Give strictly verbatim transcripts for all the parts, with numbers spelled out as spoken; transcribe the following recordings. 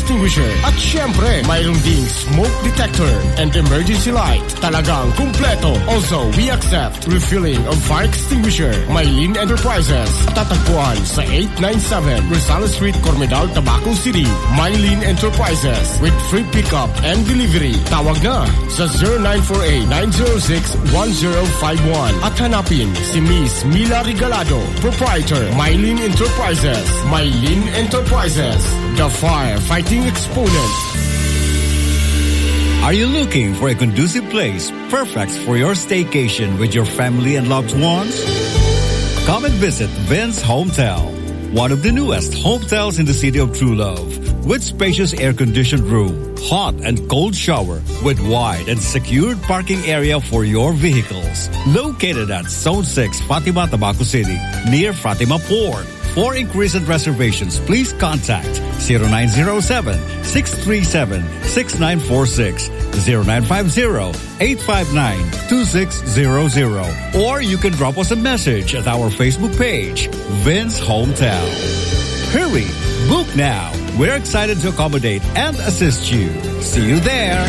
extinguisher. At syempre, mayroon ding smoke detector and emergency light. Talagang kumpleto. Also, we accept refilling of fire extinguisher. Mylene Enterprises. Tatagpuan sa eight nine seven Rosales Street, Cormedal, Tabaco City. Mylene Enterprises with free pickup and delivery. Tawag na sa zero nine four eight, nine zero six, one zero five one. At hanapin si Miss Mila Regalado, proprietor, Mylene Enterprises. Mylene Enterprises, the firefighting exponent. Are you looking for a conducive place perfect for your staycation with your family and loved ones? Come and visit Vince Hometel, one of the newest hotels in the city of True Love, with spacious air-conditioned room, hot and cold shower, with wide and secured parking area for your vehicles. Located at Zone six, Fatima, Tabaco City, near Fatima Port. For inquiries and reservations, please contact zero nine zero seven, six three seven, six nine four six, zero nine five zero, eight five nine, two six zero zero, or you can drop us a message at our Facebook page, Vince Hometel. Hurry! Book now! We're excited to accommodate and assist you. See you there!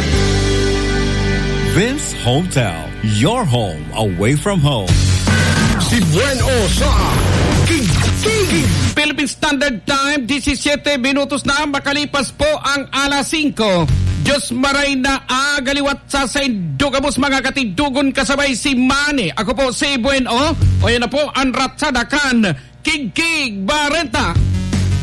Vince Hometel, your home away from home. Si Buen O sa Kigkig. Philippine Standard Time, disisiyete minutos na makalipas po ang alas singko. Diyos maray na aga liwat sa saindo gabos, mga katigdugon, kasabay si Manny. Ako po si Buen O. O, yan na po ang ratsada kan Kigkig Bareta.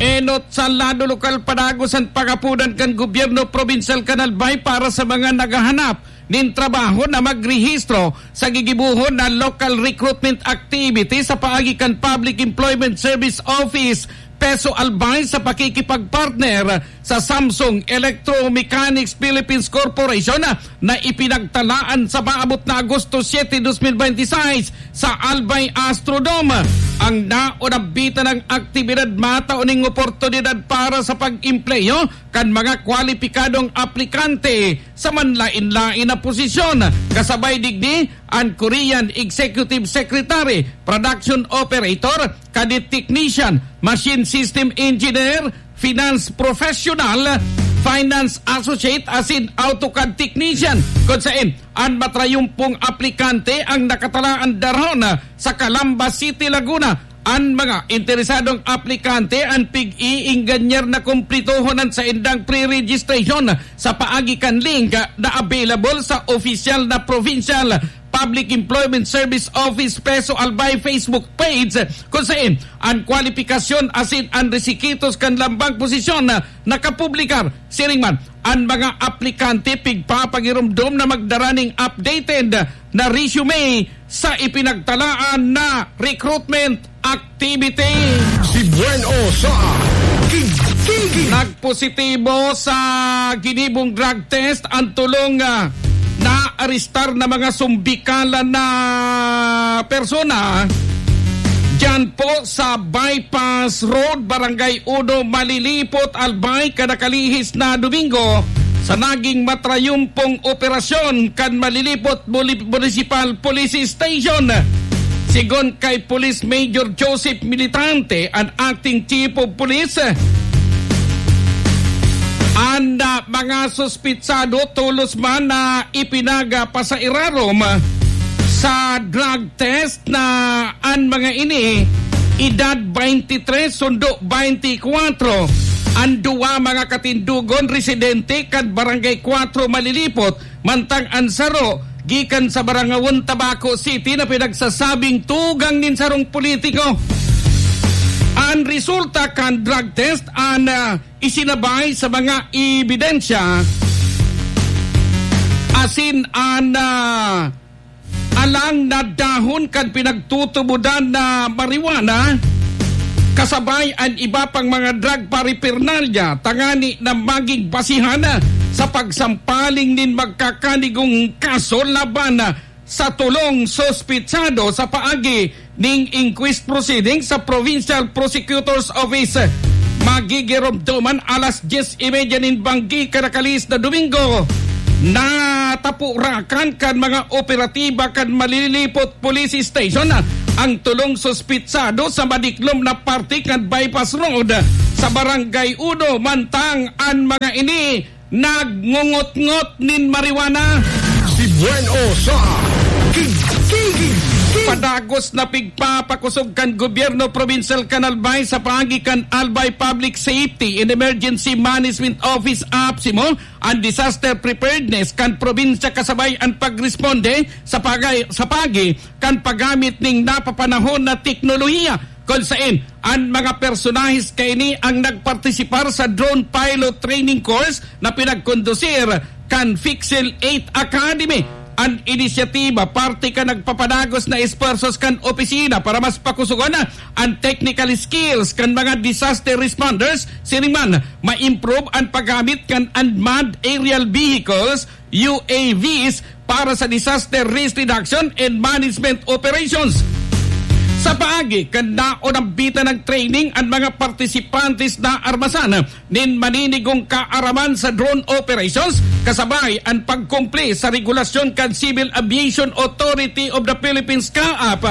Enot sa lado lokal, padagos an pagapodan kan gobyerno probinsyal kan Albay para sa mga naghahanap nin trabaho na magrehistro sa gigibohon na local recruitment activity sa paagi kan Public Employment Service Office, PESO Albay, sa pakikipagpartner sa Samsung Electromechanics Philippines Corporation na ipinagtalaan sa maabot na Agosto siete, dos mil bente y seis sa Albay Astrodome. Ang naonabitan ng aktibidad matao ning oportunidad para sa pag-empleyo kan mga kwalipikadong aplikante sa manlain-lain na posisyon, kasabay digdi an Korean Executive Secretary, Production Operator, Cadet Technician, Machine System Engineer, Finance Professional, Finance Associate asin AutoCAD Technician, kun saen an matrayumpong aplikante ang nakatalaan darahon sa Calamba City, Laguna. An mga interesadong aplikante an pig-iingganyar na kumplitohon an saindang pre-registration sa paagi kan link na available sa opisyal na Provincial Public Employment Service Office, PESO Albay Facebook page, kun saen an kwalipikasyon asin an resikitos kan lambang posisyon nakapublikar. Siring man, an mga aplikante pigpapagiromdom na magdara ning updated na resume sa ipinagtalaan na recruitment activity. Si Buen O sa Kigkig. Nagpositibo sa ginibong drug test ang tolong, ah, naarestar na mga sumbikalan na persona diyan po sa Bypass Road, Barangay Uno, Malilipot, Albay, kadakalihis na Domingo, sa naging matrayumpong operasyon kan Malilipot Muli-, Municipal Police Station. Sigon kay Police Major Joseph Militante, an acting chief of police, an, ah, mga suspitsado tolos man na ipinagpasairarom sa drug test na an mga ini edad twenty-three sundo twenty-four. An duwa mga katindogon residente kan Barangay Cuatro, Malilipot, mantang an saro gikan sa Barangawon, Tabaco City, na pinagsasabing tugang nin sarong politiko. An resulta kan drug test an, ah, isinabay sa mga ebidensya asin an, ah, alang na dahon kan pinagtutubodan na marijuana, kasabay an iba pang mga drug paraphernalia, tangani na maging basihan sa pagsampaling nin magkakanigong kaso laban sa tolong suspitsado sa paagi ning inquest proceeding sa Provincial Prosecutor's Office. Magigiromdoman alas dyes y media nin banggi kadakalihis na Domingo. Natapurakan kan mga operatiba kan Malilipot Police Station ang tolong suspitsado sa madiklom na parte kan Bypass Road sa Barangay Uno, mantang an mga ini nagngungot-ngot nin marijuana. Si Buen O sa Kig-, Kig-, Kig-. Padagos na pigpapakosog kan gobyerno probinsyal kan Albay sa paagi kan Albay Public Safety and Emergency Management Office, APSEMO, an disaster preparedness kan probinsya kasabay an pagresponde sa pagay-, sa paagi kan paggamit ning napapanahon na teknolohiya, kun saen an mga personahes kaini ang nagpartisipar sa drone pilot training course na pinagkondusir kan Fixel eight Academy. An inisyatiba parte kan nagpapadagos na esfuerzos kan opisina para mas pakusogon an technical skills kan mga disaster responders, siring man ma-improve an paggamit kan unmanned aerial vehicles, U A Vs, para sa disaster risk reduction and management operations. Sa paagi kan naonambitan ng training, an mga partisipantes naarmasan nin maninigong kaaraman sa drone operations, kasabay an pagkumpli sa regulasyon kan Civil Aviation Authority of the Philippines, CAAP,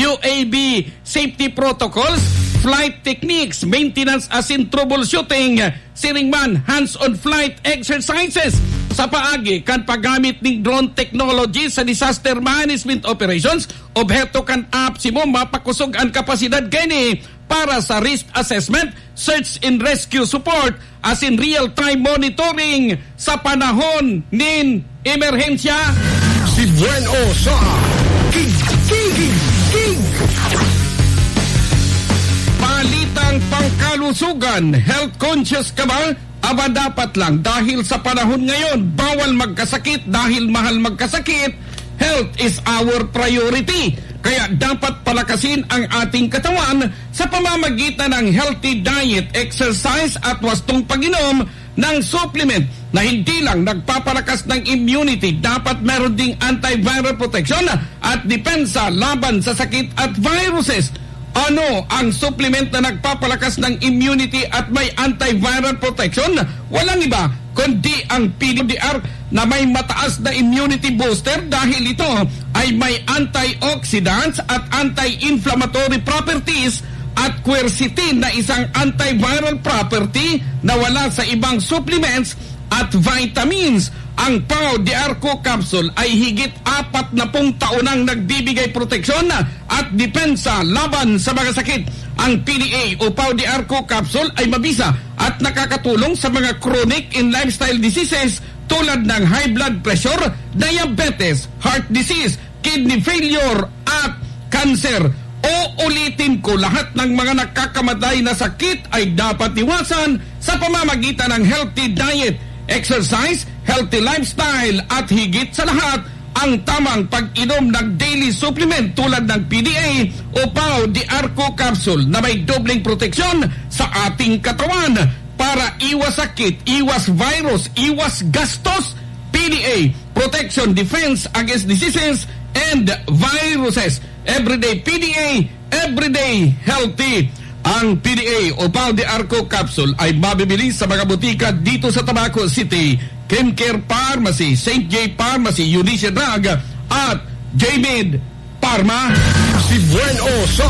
U A V safety protocols, flight techniques, maintenance asin troubleshooting, siring man hands-on flight exercises. Sa paagi kan paggamit ning drone technology sa disaster management operations, obheto kan APSEMO mapakosog an kapasidad kaini para sa risk assessment, search and rescue support, asin real-time monitoring sa panahon nin emerhensya. Si Buen O sa Kig-, Kig-, Kig-. Balitang pangkalusugan, health conscious ka ba? Aba, dapat lang, dahil sa panahon ngayon, bawal magkasakit dahil mahal magkasakit. Health is our priority. Kaya dapat palakasin ang ating katawan sa pamamagitan ng healthy diet, exercise at wastong pag-inom ng supplement na hindi lang nagpapalakas ng immunity, dapat meron ding antiviral protection at depensa laban sa sakit at viruses. Ano ang supplement na nagpapalakas ng immunity at may antiviral protection? Walang iba kundi ang P D R na may mataas na immunity booster dahil ito ay may antioxidants at anti-inflammatory properties at quercetin na isang antiviral property na wala sa ibang supplements at vitamins. Ang Pau de Arco Capsule ay higit apat na pung taon nang nagbibigay proteksyon at depensa laban sa mga sakit. Ang P D A o Pau de Arco Capsule ay mabisa at nakakatulong sa mga chronic and lifestyle diseases tulad ng high blood pressure, diabetes, heart disease, kidney failure at cancer. Uulitin ko, lahat ng mga nakakamatay na sakit ay dapat iwasan sa pamamagitan ng healthy diet, exercise, healthy lifestyle at higit sa lahat, ang tamang pag-inom ng daily supplement tulad ng P D A o Pau de Arco Capsule na may dobleng proteksyon sa ating katawan para iwas sakit, iwas virus, iwas gastos. P D A, protection, defense against diseases and viruses. Everyday P D A, everyday healthy. Ang P D A o Pau de Arco Capsule ay mabibili sa mga botika dito sa Tabaco City, Kimcare Pharmacy, Saint J Pharmacy, Eunice Drug at J-Med Pharma. Si Buen O sa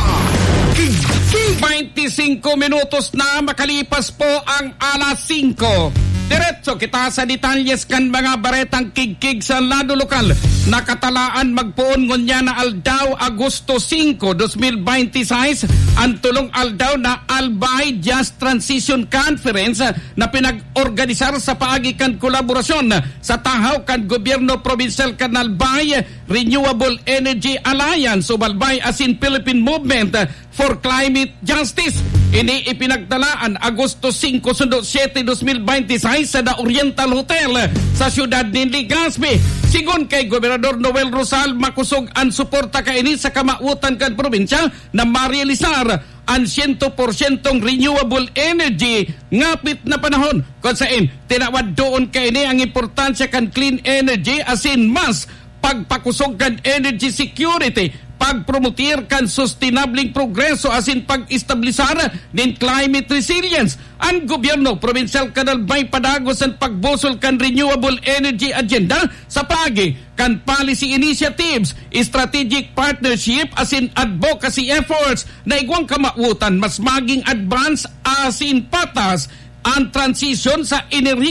Kig-, Kig-. Twenty-cinco minutos na makalipas po ang alas singko. Diretso kita sa detalyes kan mga baretang kigkig sa lado lokal. Nakatalaan magpoon ngunyan na aldaw, Agosto singko, dos mil bente y seis, ang tulong aldaw na Albay Just Transition Conference na pinag-organisar sa paagi kan kolaborasyon sa tahaw kan Gobyerno Probinsyal kan Albay, Renewable Energy Alliance o Albay asin Philippine Movement for Climate Justice. Ini ipinagtalaan Agosto singko sundo siyete, dos mil bente y seis sa The Oriental Hotel sa siyudad nin Legazpi. Sigon kay Gobernador Noel Rosal, makosog an suporta kaini sa kamawotan kan probinsya na marealisar an siyento porsyentong renewable energy ngapit na panahon. Kun saen, tinawad doon kaini ang importansya kan clean energy asin mas pagpakosog kan energy security pagpromotir kan sustainableng progreso asin pag-establisar nin climate resilience. An gobyerno probinsyal kan Albay padagos an pagbusol kan renewable energy agenda sa paagi kan policy initiatives, strategic partnership asin advocacy efforts na igwang kamawotan mas maging advance asin patas an transisyon sa enerhiya